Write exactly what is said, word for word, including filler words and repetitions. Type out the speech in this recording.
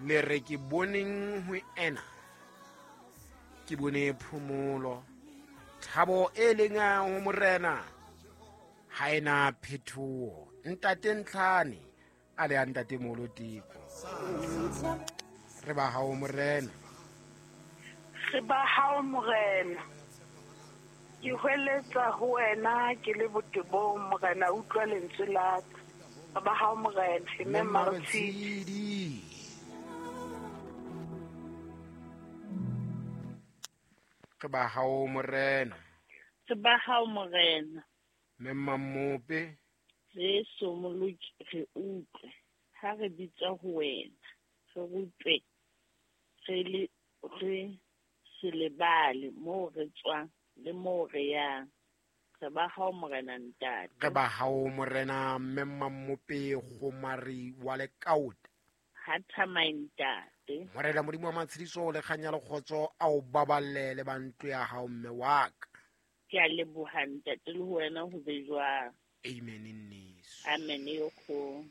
Le re ke boneng ho ena, ke bone phomolo, thabo e leng ho morena ha ena phethoho. Ntate Ntlhane a le a ntate Molo Teko, re ba hao morena, re ba hao morena. Ke hweletsa ho wena ke le botebong, morena utlwa lentswe la ka. Re ba hao morena. Mme Mmatshidi, re ba hao morena, re ba hao morena. Mme Mmamope, Jesu Moloki, re utlwe ha re bitsa ho wena, re rutwe re le re se lebale moo re tswang le moo re yang. Re ba hao morena ntate, re ba hao morena. Mme Mmamope Kgomari wa Lekaota, ha thamai ntate. Morena Modimo wa matshediso le kganya le kgotso a o baballe le ba ntlo ya hao mme wa ka. Ke a leboha ntate, le ho wena ho be jwang. Amen nneso. Amen yo kgolo.